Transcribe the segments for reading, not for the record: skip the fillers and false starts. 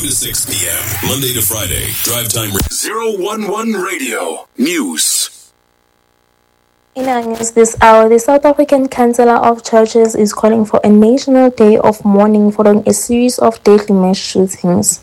to 6 p.m. Monday to Friday. Drive time. 011 Radio News. In our news this hour, the South African Council of Churches is calling for a national day of mourning following a series of deadly mass shootings.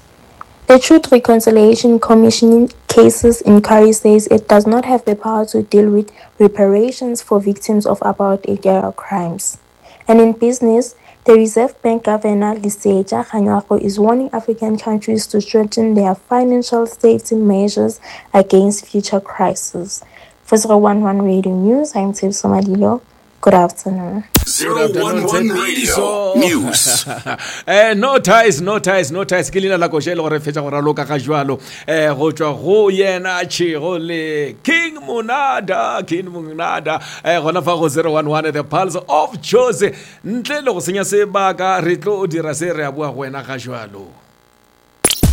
The Truth Reconciliation Commission cases inquiry says it does not have the power to deal with reparations for victims of apartheid era crimes. And in business, the Reserve Bank Governor Lesetja Kganyago is warning African countries to strengthen their financial safety measures against future crises. For 011 Radio News, I'm Tshepso Madilo. Good afternoon. 011 Radio News. eh no ties no ties no ties ke leina la koša e le gore fetša go raloka ga jwalo eh go tšwa go yena tšhego le king monada king monada eh gona fa go 011 the pulse of jose ntle le go senya sebaka re tlo dira se re a boa go wena ga jwalo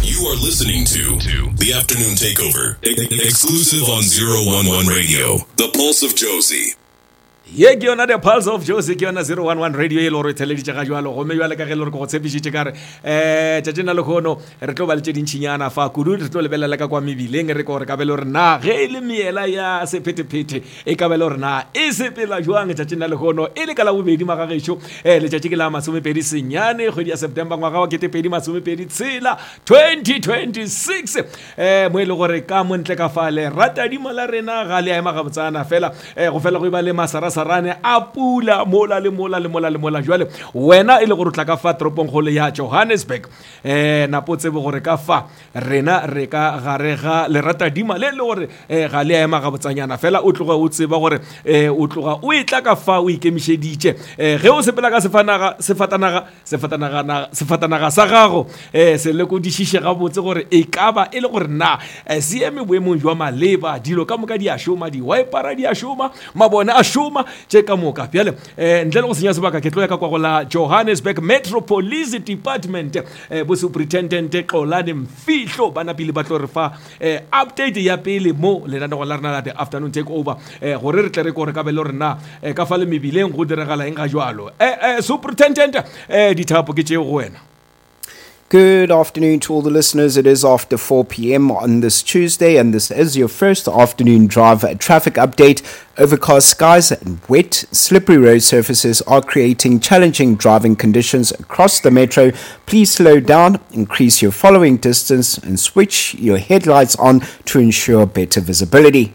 You are listening to The Afternoon Takeover, exclusive on 011 Radio, The Pulse of Josie. Ye ke yona The Pulse of Josie, ke yona 011 Radio e le gore e theleditše ga jwalo. Gomme bjale ka ge e le gore ke go tshepišitše ka re um tšatšing la lehono re tlo ba le tše dintšinyana fa kudu, re tlo lebelela ka kwa mebileng re ko gore ka be le gore na ge e le meela ya sephethephethe e ka be le gore na e sepela jwang tšatšing la lehono e le ka la bobedi magagešo um letšatši ke la masomepedi senyane kgwedi ya September ngwaga wa ketepedi masomepedi tshela 2026 um mo e le gore ka montle ka fale ratadimo la rena ga le a ema gabotsana fela um go fela go e ba le masarasarane a pula mola le mola le mola le mola jwale wena e le gore o tla ka fa toropongkgolo ya Johannesburg um napo tsebe gore ka fa rena re ka gare ga leratadima le le gore um ga le a ema gabotsanyana fela o tloga o tseba gore um o tloga o e tla ka fa o ikemišeditše um ge o sepela ka sefanaga sefatanaga Sefatanagana, sefatanaga sa gago um se lekodišiše gabotse gore e ka ba e le gore na eh, se eme boemong jwa maleba dilo ka moka di a šoma diwaepara di a šoma mabone a šoma tše ka moka bjale um ntle le go senya sebaka ke tlo ya ka kwa go la Johannesburg Metro Police Department um bo Superintendent Xolani Mfihlo ba napile ba tlo re fa eh, update ya pele mo lenanegong la rena la the afternoon take over eh, gore re tle re kore ka be le gore na eh, ka fa le mebileng go diregala eng ga jalo eh, eh, superintendent eh, dithapo ke tšeo go wena. Good afternoon to all the listeners. It is after 4 p.m. on this Tuesday, and this is your first afternoon drive traffic update. Overcast skies and wet, slippery road surfaces are creating challenging driving conditions across the metro. Please slow down, increase your following distance, and switch your headlights on to ensure better visibility.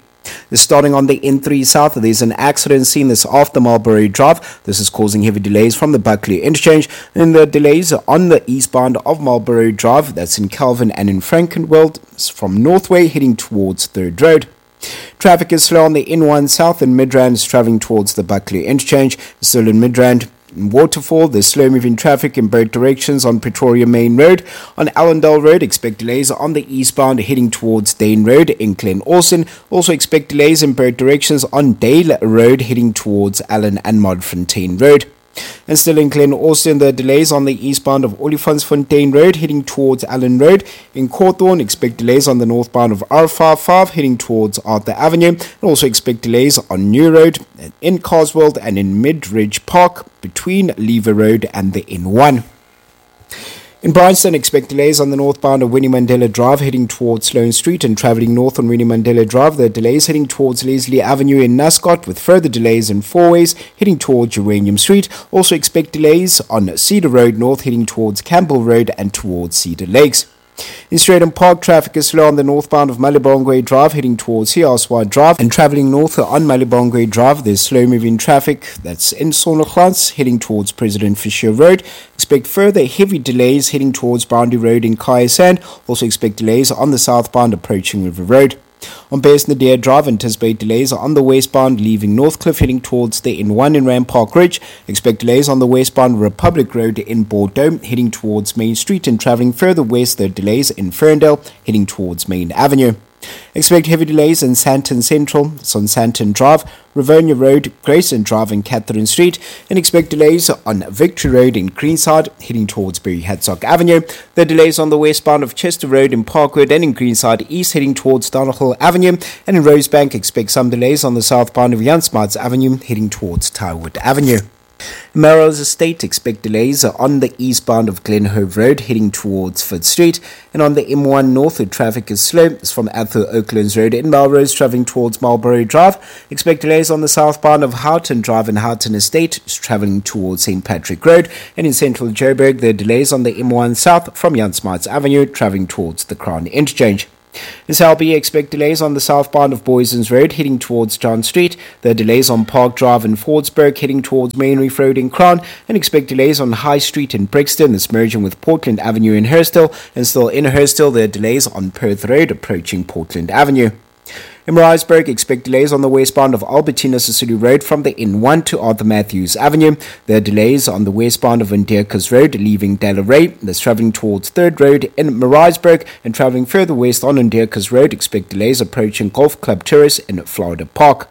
Starting on the N3 South, there's an accident seen this after Marlboro Drive. This is causing heavy delays from the Buckley interchange. And the delays on the eastbound of Marlboro Drive, that's in Calvin and in Frankenwald, from Northway heading towards Third Road. Traffic is slow on the N1 South and Midrand is traveling towards the Buckley interchange. Still in Midrand, in Waterfall, there's slow moving traffic in both directions on Pretoria Main Road. On Allendale Road, expect delays on the eastbound heading towards Dane Road in Glen Austin. Also expect delays in both directions on Dale Road heading towards Allen and Modfontein Road. And still in Glen Austin, the delays on the eastbound of Olifantsfontein Road heading towards Allen Road. In Cawthorne, expect delays on the northbound of R55 heading towards Arthur Avenue. And also expect delays on New Road, in Carswell and in Midridge Park between Lever Road and the N1. In Bryanston, expect delays on the northbound of Winnie Mandela Drive heading towards Sloane Street and travelling north on Winnie Mandela Drive. There are delays heading towards Leslie Avenue in Nascot with further delays in Fourways heading towards Uranium Street. Also expect delays on Cedar Road North heading towards Campbell Road and towards Cedar Lakes. In Strijdom Park, traffic is slow on the northbound of Malibongwe Drive heading towards Hiaswa Drive and travelling north on Malibongwe Drive. There's slow-moving traffic that's in Sonneglans heading towards President Fisher Road. Expect further heavy delays heading towards Boundary Road in Kya Sand. Also expect delays on the southbound approaching River Road. On Beyers Naudé Drive, anticipate delays on the westbound leaving Northcliff heading towards the N1 in Randpark Ridge. Expect delays on the westbound Republic Road in Bordeaux heading towards Main Street and travelling further west. There are delays in Ferndale heading towards Main Avenue. Expect heavy delays in Sandton Central, it's on Sandton Drive, Rivonia Road, Grayson Drive and Catherine Street, and expect delays on Victory Road in Greenside, heading towards Berry Hertzog Avenue. The delays on the westbound of Chester Road in Parkwood and in Greenside East, heading towards Donohill Avenue, and in Rosebank, expect some delays on the southbound of Jan Smuts Avenue, heading towards Tyrwhitt Avenue. Melrose Estate, expect delays on the eastbound of Glenhove Road heading towards Fifth Street. And on the M1 North, the traffic is slow. It's from Arthur Oaklands Road in Melrose, traveling towards Marlborough Drive. Expect delays on the southbound of Houghton Drive in Houghton Estate, traveling towards St. Patrick Road. And in central Joburg, there are delays on the M1 South from Jan Smuts Avenue, traveling towards the Crown Interchange. In Selby, expect delays on the southbound of Booysens Road heading towards John Street. There are delays on Park Drive in Fordsburg heading towards Main Reef Road in Crown, and expect delays on High Street in Brixton, that's merging with Portland Avenue in Hurstville. And still in Hurstville, there are delays on Perth Road approaching Portland Avenue. In Maritzburg, expect delays on the westbound of Albertina Sisulu Road from the N1 to Arthur Matthews Avenue. There are delays on the westbound of Onderkus Road leaving Delarey, that's travelling towards 3rd Road in Maritzburg, and travelling further west on Onderkus Road, expect delays approaching Golf Club Terrace in Florida Park.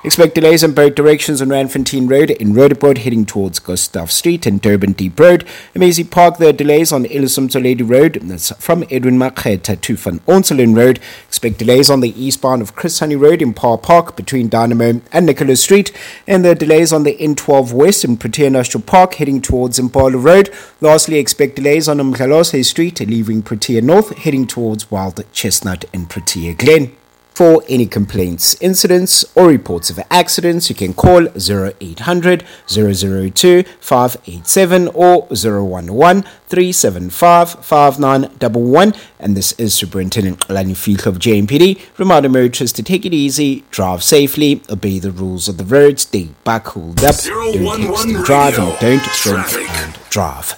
Expect delays in both directions on Randfontein Road in Roodepoort heading towards Gustav Street and Durban Deep Road. In Maisie Park, there are delays on Elias Motsoaledi Road, that's from Edwin Makgetha to Van Onselen Road. Expect delays on the eastbound of Chris Hani Road in Park Park between Dynamo and Nicholas Street. And there are delays on the N12 West in Protea National Park heading towards Impala Road. Lastly, expect delays on Umdlalose Street leaving Protea North heading towards Wild Chestnut and Protea Glen. For any complaints, incidents, or reports of accidents, you can call 0800 002 587 or 011 375 5911. And this is Superintendent Lani Fiedler of JMPD, reminding motorists to take it easy, drive safely, obey the rules of the road, stay buckled up, don't text and drive, and don't drink and drive.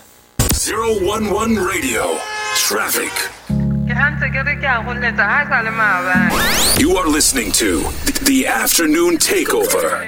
011 Radio. Traffic. You are listening to The Afternoon Takeover.